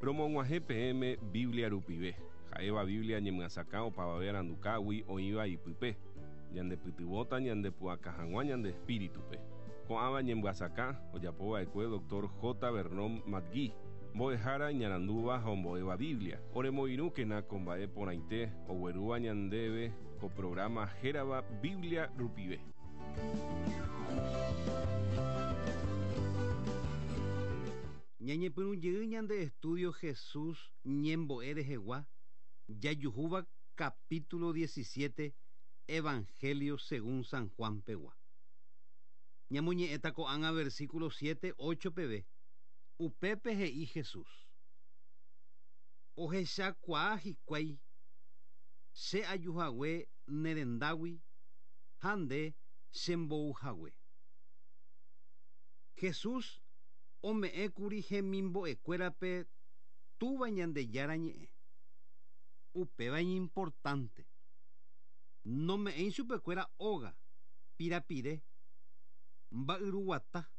Romog̃uahẽ peẽme Biblia rupive, ha'éva Biblia ñemyasakã opavave arandukágui oĩva ipype, ñandepytyvõta ñandepu'aka hag̃ua ñande espíritupe. Ko'ãva ñemyasakã ojapova'ekue Dr. J. Vernon McGee, mbo'ehára iñarandúva ha ombo'éva Biblia. Oremoirũkena ko mba'e porãite oguerúva ñandéve ko programa hérava Biblia rupive. Ñañepyrũjey ñande estudio Jesús ñembo'e rehegua jajuhúva capítulo 17 Evangelio según San Juan pegua. Ñamoñe'ẽta ko'ág̃a versículo 7, 8 peve. Upépe he'i Jesús. Ohechakuaa hikuái che ajuhague ne rendágui ha nde chembouhague. Jesús ome'ẽkuri hemimbo'ekuérape Túva Ñandejára ñe'ẽ. Upéva iñimportante. Nome'ẽi chupekuéra óga, pirapire, mba'yruguata.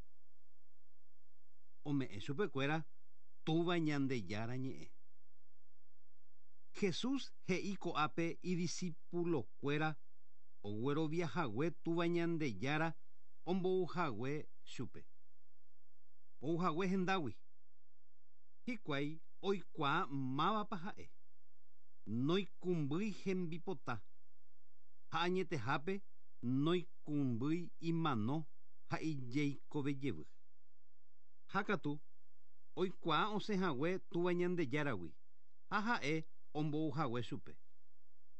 Ome'ẽ chupekuéra Túva Ñandejára ñe'ẽ. Jesús he'i ko'ápe idiscipulokuéra ogueroviahague Túva Ñandejára ombouhague chupe. Ouhague hendágui. Hikuái oikuaa mávapa ha'e. Noikũmbýi hembipota. Ha añetehápe noikũmbýi imano ha ijeikovejevy. Ha katu oikuaa osẽhague Túva Ñandejáragui ha ha'e ombouhague chupe.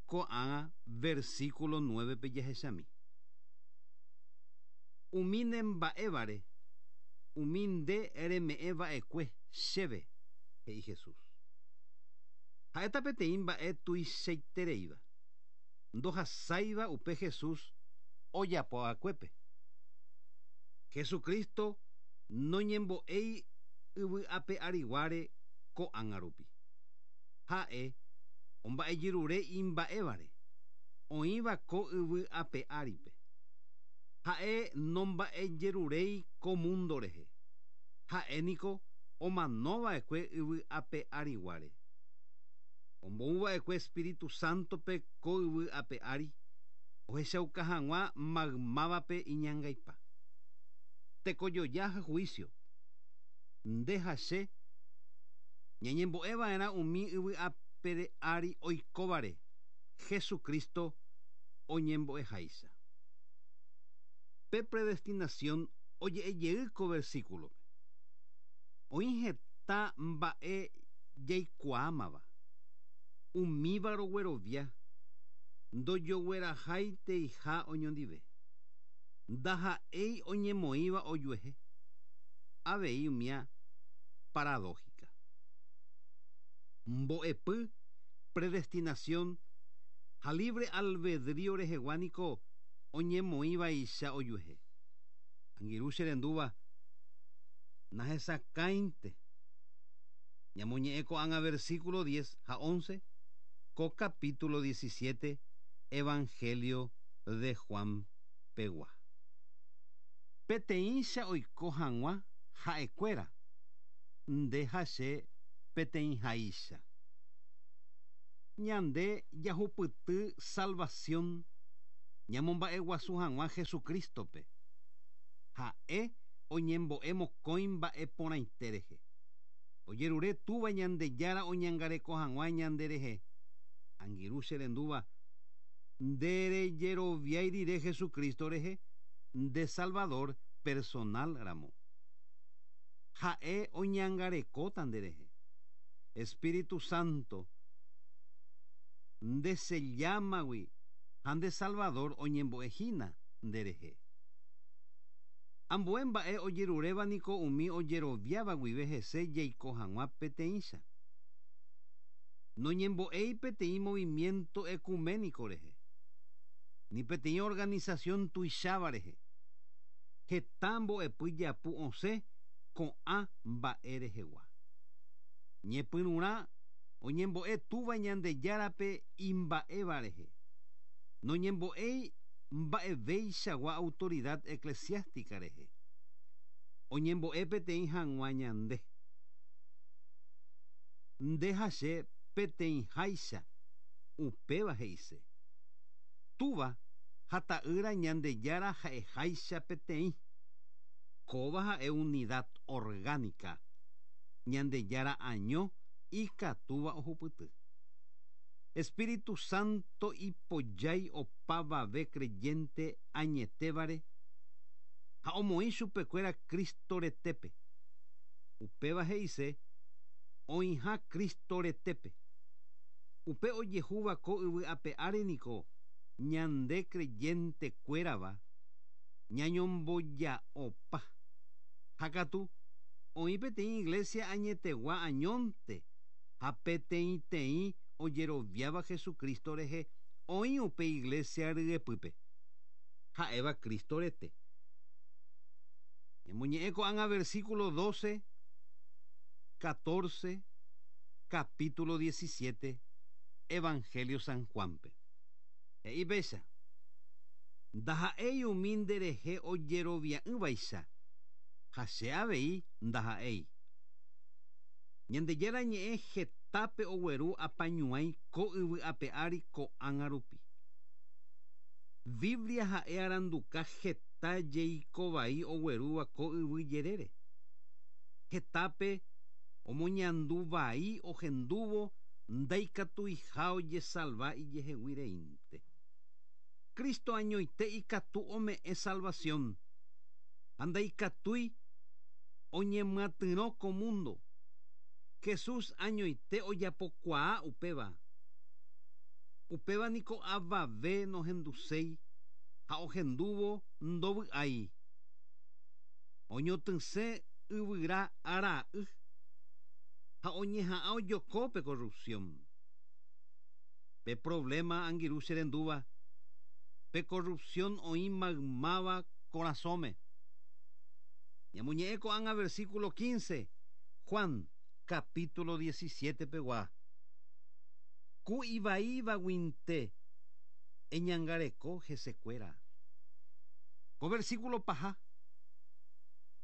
Ko'ág̃a versículo 9 pe jahechami. Umi ne mba'évare, umi nde reme'ẽva'ekue chéve, he'i Jesús. Ha'éta peteĩ mba'e tuichaitereíva. Ndohasáiva upe Jesús ojapo'akuépe. Jesucristo noñembo'éi yvy ape ariguáre ko'ág̃a rupi. Ha'e omba'ejerure imba'évare, oĩva ko yvy ape áripe. Ha'e nomba'ejeruréi ko mundo rehe. Ha'e niko omanova'ekue yvy ape ariguáre. Ombouva'ekue Espíritu Santope ko yvy ape ári, ohechauka hag̃ua maymávape iñangaipa. Tekojoja ha juicio. Nde ha che ñañembo'eva'erã umi yvy ape ári oikóvare Jesucristo oñembo'eháicha. Pe predestinación oje'ejey ko versículope. Oĩ heta mba'e jaikuaámava. Umíva roguerovia ndojoguerahaiteiha oñondive. Ndaha'éi oñemoĩva ojuehe. Avei umía paradójica. Mbo'epy predestinación ha libre albedrío rehegua niko oñemoĩvaicha ojuehe. Angirũ che rendúva nahesakãinte. Ñamoñe'ẽ ko'ág̃a versículo 10 ha 11 ko capítulo 17 Evangelio de Juan pegua. Peteĩcha oiko hag̃ua ha'ekuéra, nde ha che peteĩháicha. Ñande jahupyty salvación ñamomba'eguasu hag̃ua Jesucristope. Ha'e oñembo'e mokõi mba'e porãite rehe. Ojerure Túva Ñandejára oñangareko hag̃ua ñande rehe. Angirũ che rendúva, nde rejeroviái rire Jesucristo rehe, nde Salvador personal ramo. Ha'e oñangarekóta nde rehe. Espíritu Santo nde sellámagui ha nde Salvador oñembo'ehína nde rehe. Ambue mba'e ojeruréva niko umi ojeroviáva guive hese jaiko hag̃ua peteĩcha. Noñembo'éi peteĩ movimiento ecuménico rehe, ni peteĩ organización tuicháva rehe. Heta mbo'epy japu osẽ ko'ã mba'e rehegua. Ñepyrũrã oñembo'e Túva Ñandejárape imba'éva rehe. Noñembo'éi mba'eveichagua autoridad eclesiástica rehe. Oñembo'e peteĩ hag̃ua ñande. Nde ha che peteĩháicha, upéva he'ise. Túva ha Ta'ýra Ñandejára ha'eháicha peteĩ. Kóva ha'e unidad orgánica Ñandejára año ikatúva ohupyty. Espíritu Santo ipojái opavave creyente añetévare ha omoĩ chupekuéra Cristo retépe. Upéva he'ise oĩha Cristo retépe. Upe ojehúva ko yvy ape ári niko ñande creyente kuérava ñañomboja'opa. Ha katu, oĩ peteĩ iglesia añetegua añónte ha peteĩteĩ ojeroviáva Jesucristo rehe oĩ upe iglesia ryepýpe, ha'éva Cristo rete. Ñamoñe'ẽ ko'ág̃a versículo 12, 14, capítulo 17, Evangelio San Juan-pe. He'i péicha, Ndaha'éi umi nderehe ojerovia'ỹvaicha, ha che avei ndaha'éi. Ñandejára Ñe'ẽ hetápe ogueru apañuãi ko yvy ape ári ko'ág̃a rupi. Biblia ha'e aranduka heta jeikovai oguerúva ko yvy jerére. Hetápe omoñandu vai ohendúvo ndaikatuiha ojesalva ijehegui reínte. Cristo añoite ikatu ome'ẽ salvación, ha ndaikatúi oñemyatyrõ ko mundo. Jesús añoite ojapokuaa upéva. Upéva niko avave nohenduséi ha ohendúvo ndovy'ái. Oñotỹse yvyra ra'y ha oñeha'ã ojoko pe corrupción. Pe problema angirũ che rendúva, pe corrupción oĩ maymáva korasõme. Ñamoñe'ẽ ko'ág̃a versículo 15, Juan, capítulo 17 pegua. Ku ivaívaguinte eñangareko hesekuéra. Ko versículo paha,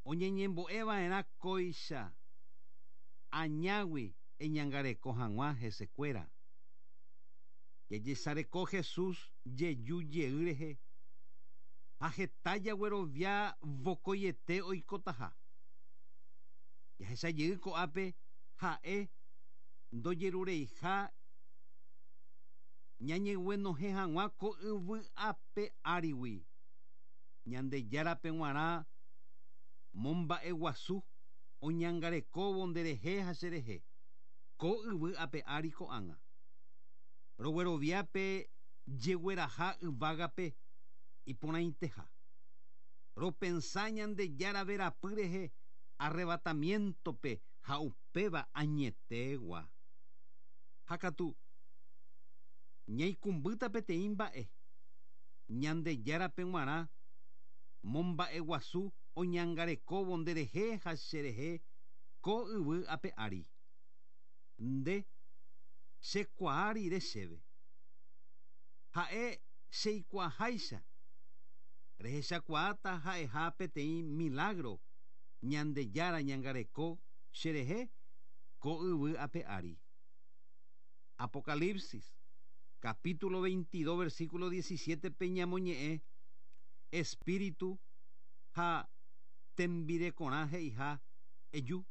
oñeñembo'e va'erã kóicha añágui eñangareko hag̃ua hesekuéra. Jajesareko Jesús jeju jey rehe ha heta jaguerovia vokoiete oikotaha. Jahecha jey ko'ápe ha'e ndojerureiha ñañeguenohẽ hag̃ua ko yvy ape árigui. Ñandejárape g̃uarã momba'eguasu oñangarekóvo nderehe ha cherehe, ko yvy ape ári ko'ág̃a. Roguerovia pe jegueraha yvágape iporãiteha. Ropensa Ñandejára verapy rehe arrebatamiento-pe ha upéva añetegua. Ha katu, ñaikũmbýta peteĩ mba'e, Ñandejárape g̃uarã momba'eguasu oñangarekóvo nderehe ha cherehe ko yvy ape ári. Nde, chekuaa rire chéve. Ha'e cheikuaaháicha, rehechakuaáta ha'eha peteĩ milágro Ñandejára ñangareko cherehe ko yvy ape ári. Apocalipsis, capítulo 22, versículo 17 pe ñamoñe'ẽ Espíritu ha tembirekorã he'iha eju.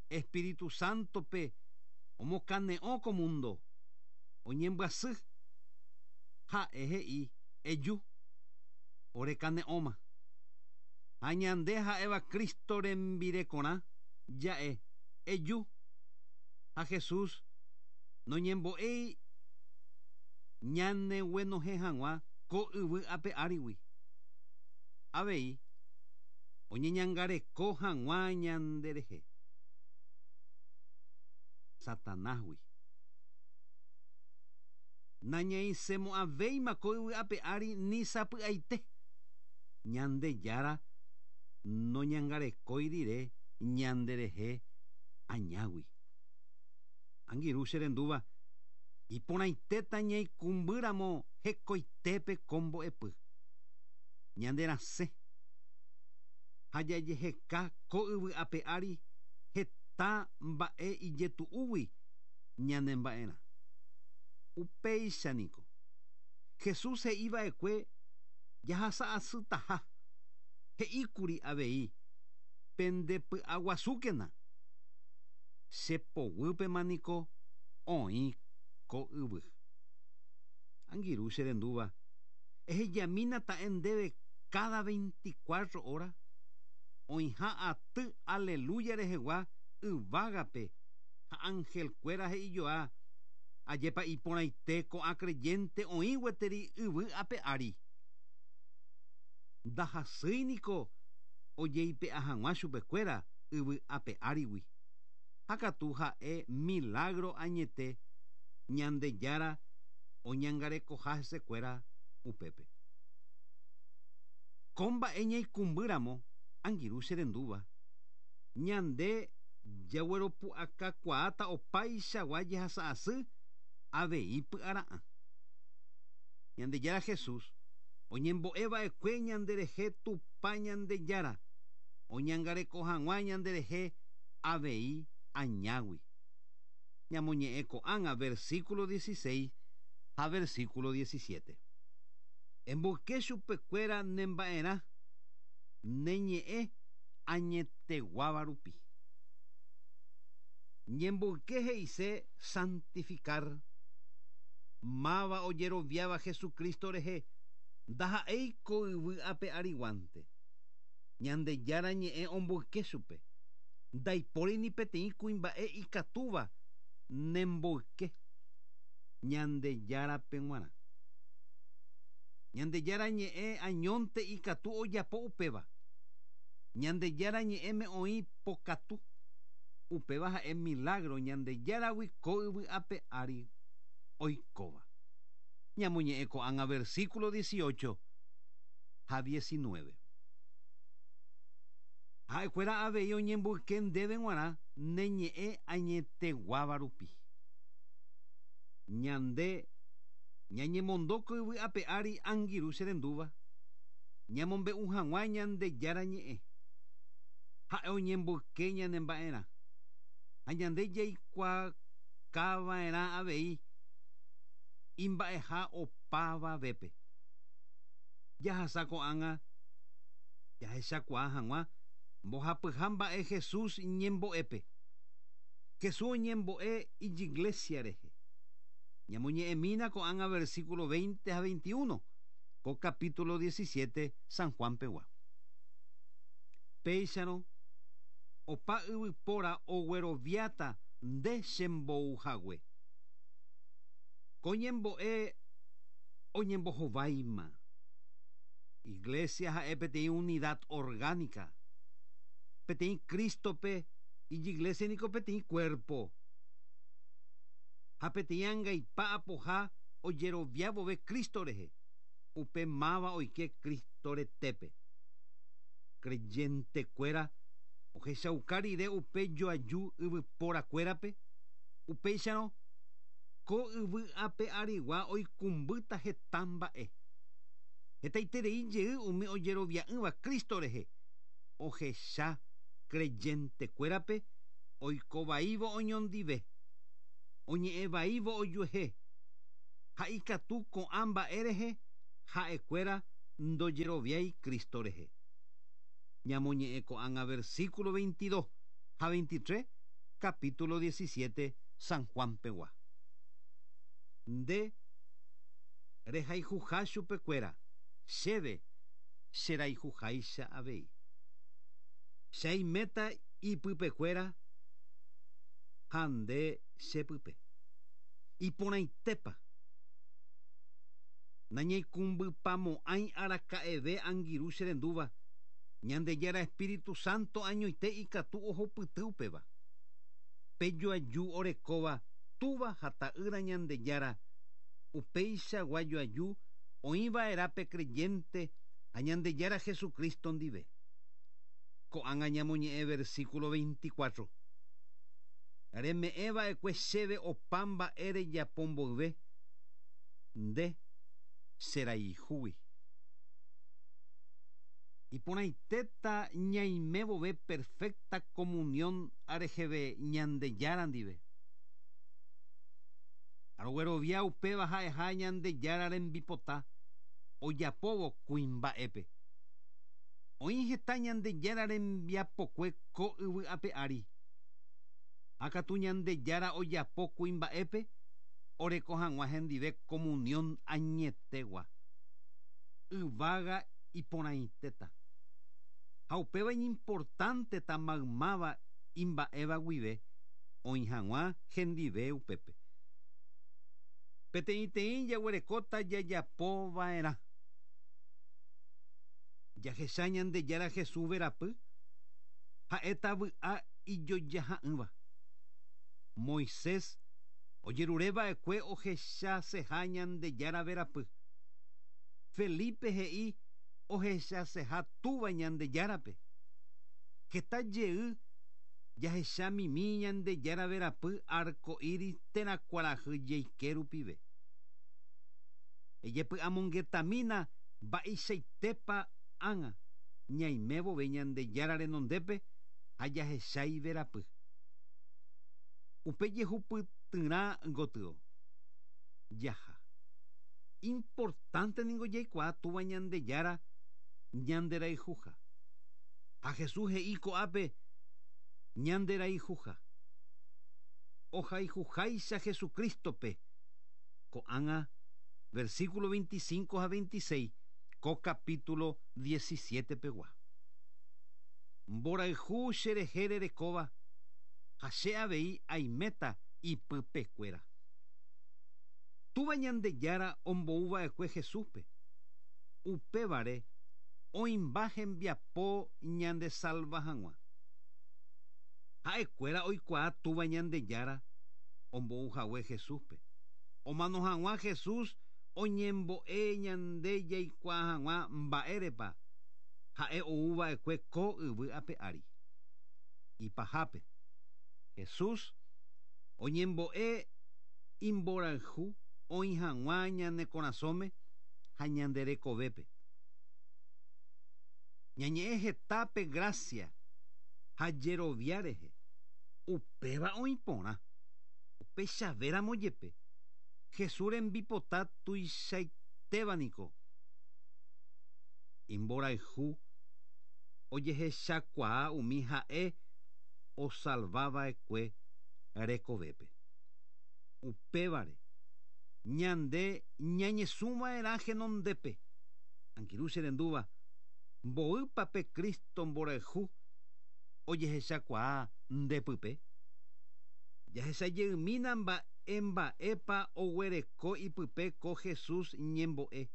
Espíritu Santo-pe omokane'õ ko mundo, oñembyasy. Ha'e he'i, Eju, ore kane'õma. Ha ñande ha'éva Cristo rembirekorã, ja'e, Eju. Ha Jesús noñembo'éi ñaneguenohẽ hag̃ua ko yvy ape árigui. Avei, oñeñangareko hag̃ua ñanderehe Satanásgui. Nañaisẽmo'ãvéima ko yvy ape ári ni sapy'aite, Ñandejára noñangarekói rire ñanderehe añágui. Angirũ che rendúva, iporãitéta ñaikũmbýramo hekoitépe ko mbo'epy. Ñande rasẽ ha jajeheka ko yvy ape ári heta. heta mba'e ijetu'úgui ñanemba'erã. Upéicha niko. Jesús he'iva'ekue jahasa'asytaha. He'íkuri avei, Pendepy'aguasúkena. Che poguýpema niko oĩ ko yvy. Angirũ che rendúva, ehejamína ta'e ndéve káda veinticuatro óra, oĩha aty Aleluya rehegua yvágape ha anhelkuéra he'ijoa, Ajépa iporãite ko'ã creyente oĩ gueteri yvy ape ári. Ndahasýi niko ojeipe'a hag̃ua chupekuéra yvy ape árigui. Ha katu ha'e milagro añete Ñandejára oñangarekoha hesekuéra upépe. Ko mba'e ñaikũmbýramo, angirũ che rendúva, ñande jagueropu'akakuaáta opaichagua jehasa asy avei py'ara'ã. Ñandejára Jesús oñembo'e va'ekue ñanderehe Tupã Ñandejára oñangareko hag̃ua ñanderehe avei añágui. Ñamoñe'ẽ ko'ág̃a versículo 16 ha versículo 17. Emboyke chupekuéra ne mba'erã ne ñe'ẽ añeteguáva rupi. Ñemboyke he'ise santificar. Máva ojeroviáva Jesucristo rehe ndaha'éi ko yvy ape ariguánte. Ñandejára ñe'ẽ omboyke chupe. Ndaipóri ni peteĩ kuimba'e ikatúva nemboyke Ñandejárape g̃uarã. Ñandejára ñe'ẽ añónte ikatu ojapo upéva. Ñandejára ñe'ẽme oĩ pokatu. Upéva ha'e milágro Ñandejáragui ko yvy ape ári oikóva. Ñamoñe'ẽ ko'ág̃a versículo 18 ha 19. Ha'ekuéra avei oñemboyke ndéve g̃uarã ne ñe'ẽ añeteguáva rupi. Ñande ñañemondo ko yvy ape ári angirũ che rendúva, ñamombe'u hag̃ua Ñandejára ñe'ẽ. Ha'e oñemboyke ñane mba'erã, ha ñande jaikuaakava'erã avei imba'eha opavavépe. Jahasa ko'ág̃a jahechakuaa hag̃ua mbohapyha mba'e Jesús ñembo'épe. Jesús oñembo'e ijiglésia rehe. Ñamoñe'ẽmína ko'ág̃a versículo 20 ha 21 ko capítulo 17 San Juan pegua. Péicharõ, opa yvypóra ogueroviáta nde chembou hague. Ko ñembo'e oñembohováima. Iglesia ha'e peteĩ unidad orgánica. Peteĩ Cristo-pe ijiglesia niko peteĩ cuerpo. Ha peteĩ angaipa apoha ojerovia vove Cristo rehe, upe máva oike Cristo retépe. Creyente-kuéra ohechauka rire upe joaju yvypórakuérape, upéicharõ ko yvy ape arigua oikũmbýta heta mba'e. Hetaiterei jey umi ojerovia'ỹva Cristo rehe ohecha creyente-kuérape oiko vaívo oñondive, oñe'ẽ vaívo ojuehe, ha ikatu ko'ã mba'e rehe ha'ekuéra ndojeroviái Cristo rehe. Ñamoñe'ẽ ko'ág̃a versículo 22 ha 23 capítulo 17 San Juan pegua. Nde rehayhuha chupekuéra, chéve cherayhuháicha avei. Che aiméta ipypekuéra ha nde chepype. Iporãitépa! Nañaikũmbypamo'ãi araka'eve angirũ che rendúva, Ñandejára Espíritu Santo añoite ikatu ohupyty upéva. Pe joaju orekóva Túva ha Ta'ýra Ñandejára, upeichagua joaju oĩ va'erã pe creyente ha Ñandejára Jesucristo ndive. Ko'ág̃a ñamoñe'ẽ versículo 24. Reme'ẽ va'ekue chéve opa mba'e rejapo mboyve, nde cherayhúgui. Iporãitéta ñaime vove perfecta comunión reheve Ñandejára ndive. Aroguerovia upéva ha'eha Ñandejára rembipota ojapóvo kuimba'épe. Oĩ heta Ñandejára rembiapokue ko yvy ape ári. Ha katu Ñandejára ojapo kuimba'épe oreko hag̃ua hendive comunión añetegua. Yvága iporãitéta. Ha upéva iñimportánteta maymáva imba'éva guive oĩ hag̃ua hendive upépe. Peteĩteĩ jaguerekóta jajapova'erã. Jahecha Ñandejára Jesús verapy ha'éta vy'a ijojaha'ỹva. Moisés ojerureva'ekue ohechaseha Ñandejára verapy. Felipe he'i ohechaseha Túva Ñandejárape. Heta jey jahechamimi Ñandejára verapy arco iris térã kuarahy jeike rupive. Ejepy'amongetamína mba'eichaitépa ág̃a ñaime vove Ñandejára renondépe ha jahecha iverapy. Upe jehupytyrã gotyo jaha. Importante ningo jaikuaa Túva Ñandejára ñanderayhuha. Ha Jesús he'i ko'ápe ñanderayhuha. Ohayhuháicha Jesucristo-pe. Ko'ág̃a versículo 25 ha 26 ko capítulo 17 pegua. Mborayhu cherehe rerekóva ha che avei aiméta ipypekuéra. Túva Ñandejára ombouva'ekue Jesúspe. Upévare oĩmba hembiapo ñandesalva hag̃ua. Ha'ekuéra oikuaa Túva Ñandejára ombouhague Jesúspe. Omano hag̃ua Jesús oñembo'e ñande jaikuaa hag̃ua mba'érepa ha'e ouva'ekue ko yvy ape ári. Ipahápe, Jesús oñembo'e imborayhu oĩ hag̃ua ñane korasõme ha ñande rekovépe. Ñañe'ẽ heta pe gracia ha jerovia rehe, upéva oĩ porã. Upéichavéramo jepe, Jesús rembipota tuichaitéva niko. Imborayhu ojehechakuaa umi ha'e osalvava'ekue rekovépe. Upévare, ñande ñañesũva'erã henondépe. Angirũ che rendúva, mboýpa pe Cristo mborayhu ojehechakuaa nde pype? Jahechajeymína mba'e mba'épa oguereko ipype ko Jesús ñembo'e,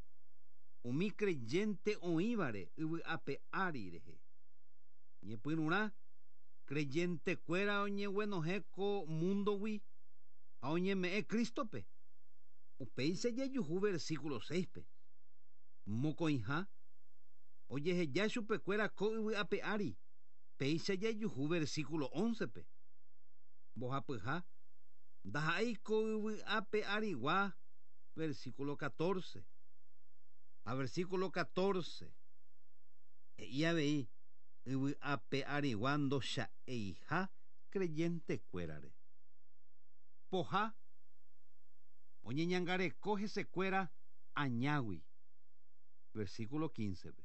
umi creyente oĩvare yvy ape ári rehe. Ñepyrũrã, creyente-kuéra oñeguenohẽ ko mundo-gui ha oñeme'ẽ Cristo-pe. Upéicha jajuhu versículo 6-pe. Mokõiha, ojeheja chupekuéra ko yvy ape ári, péicha jajuhu versículo 11-pe. Mbohapyha, ndaha'éi ko yvy ape arigua, versículo 14. Ha versículo 14, he'i avei yvy ape arigua ndocha'eiha creyente-kuérare. Poha, oñeñangareko hesekuéra añágui, versículo 15-pe.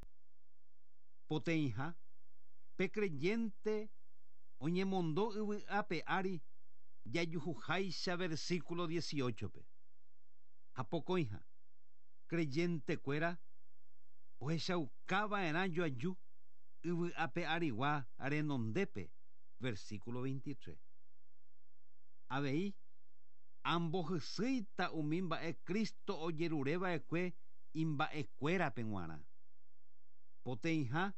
Poteĩha, pe creyente oñemondo yvy ape ári jajuhuháicha versículo 18-pe. Ha pokõiha, creyente-kuéra ohechaukava'erã joaju yvy ape arigua renondépe, versículo 23. Avei, ambohysýita umi mba'e Cristo ojerureva'ekue imba'ekuérape g̃uarã. Poteĩha,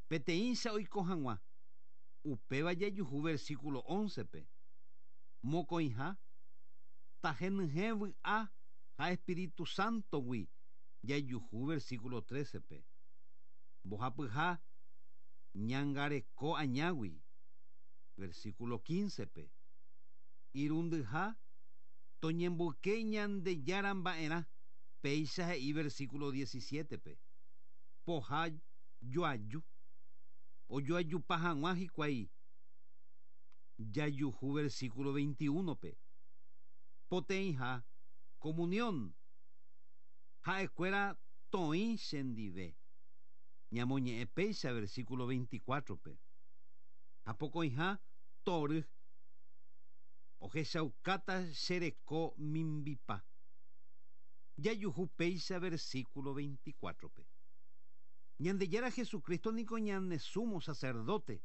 peteĩcha oiko hag̃ua, upéva jajuhu versículo 11-pe. Mokõiha, tahenyhẽ vy'a ha Espíritu Santo-gui jajuhu versículo 13-pe. Mbohapyha, ñangareko añágui, versículo 15-pe. Irundyha, toñemboyke Ñandejára mba'erã, péicha he'i versículo 17-pe. Poha Joaju. Ojoajupa hag̃ua hikuái. Jajuhu versículo 21-pe. Poteĩha, comunión. Ha'ekuéra toĩ chendive. Ñamoñe'ẽ péicha versículo 24-pe. Ha pokõiha, tory. Ohechaukáta che reko mimbipa. Jajuhu péicha versículo 24-pe. Ñandejára Jesucristo niko ñane sumo sacerdote.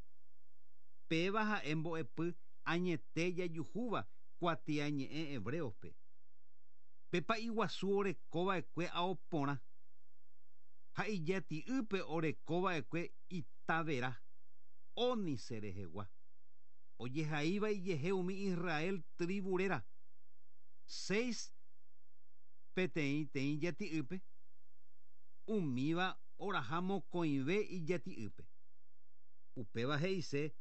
Péva ha'e mbo'epy añete jajuhúva kuatiañe'ẽ Hebreos-pe. Pe pa'i guasu orekova'ekue ao porã. Ha ijati'ýpe orekova'ekue ita vera, ónice rehegua. Ojehaíva ijehe umi Israel tribu réra. Seis peteĩteĩ jati'ýpe, umíva oraha mokõive ijati'ýpe. Upéva he'ise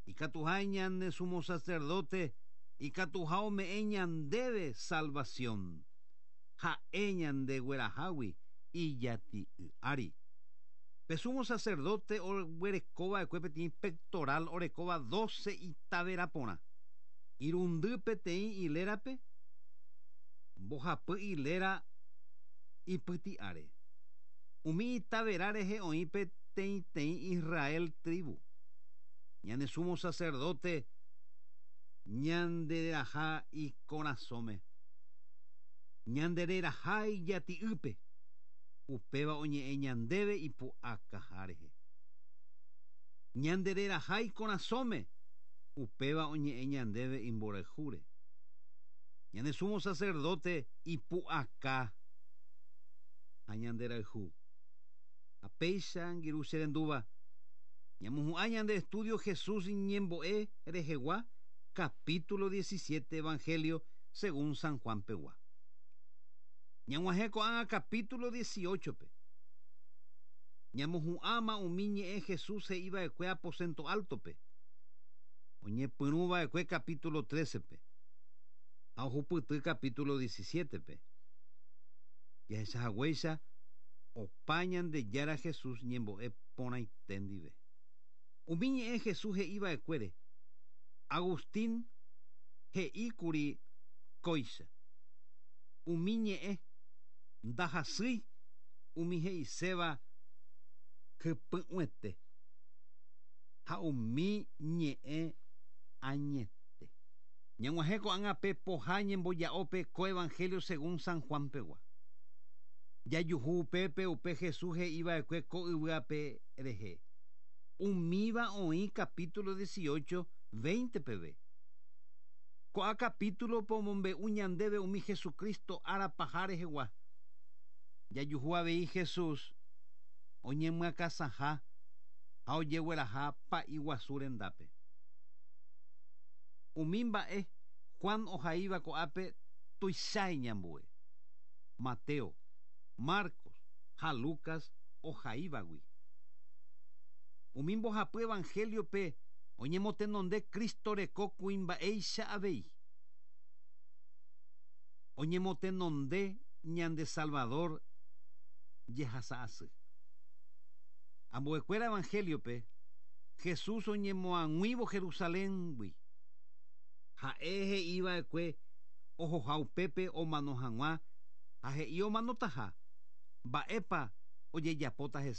ikatuha ñane sumo sacerdote ikatuha ome'ẽ ñandéve salvación. Ha'e ñandeguerahágui ijati'y ári. Pe sumo sacerdote oguerekova'ekue peteĩ pectoral orekóva 12 ita vera porã. Irundy peteĩ hilérape, mbohapy hiléra ipyti'áre. Umi ita vera rehe oĩ peteĩteĩ Israel tribu. Ñane sumo sacerdote ñandereraha ikorasõme. Ñandereraha ijati'ýpe. Upéva oñe'ẽ ñandéve ipu'akaha rehe. Ñandereraha ikorasõme. Upéva oñe'ẽ ñandéve imborayhúre. Ñane sumo sacerdote ipu'aka ha ñanderayhu. Ha péicha angirũ che rendúva. Ñamohu'ã ñande estudio Jesús ñembo'e rehegua, capítulo 17 Evangelio según San Juan pegua. Ñag̃uahẽ ko'ág̃a capítulo 18-pe. Ñamohu'ãma umi ñe'ẽ Jesús he'iva'ekue aposento alto-pe. Oñepyrũva'ekue capítulo 13-pe. Ha ohupyty capítulo 17-pe. Jahechahaguéicha opa Ñandejára Jesús ñembo'e porãite ndive. Umi ñe'ẽ Jesús he'iva'ekuére, Agustín he'íkuri kóicha. Umi ñe'ẽ ndahasýi umi he'iséva hypy'ũete ha umi ñe'ẽ añete. Ñag̃uahẽ ko'ág̃a pe poha ñemboja'ópe ko Evangelio según San Juan pegua. Jajuhu upépe upe Jesús he'iva'ekue ko yvy ape rehe. Umíva oĩ capítulo 18, 20 peve. Ko'ã capítulo-pe omombe'u ñandéve umi Jesucristo ára paha rehegua. Jajuhu avei Jesús oñemyakãsãha ha ojegueraha pa'i guasu rendápe. Umi mba'e Juan ohaíva ko'ápe tuicha iñambue. Mateo, Marcos ha Lucas ohaívagui. Umi mbohapy Evangelio-pe oñemotenonde Cristo reko kuimba'éicha avei. Oñemotenonde ñande Salvador jehasa asy. Ambuekuéra Evangelio-pe, Jesús oñemoag̃uívo Jerusaléngui. Ha'e he'iva'ekue ohoha upépe omano hag̃ua ha he'i omanotaha, mba'épa ojejapóta hese.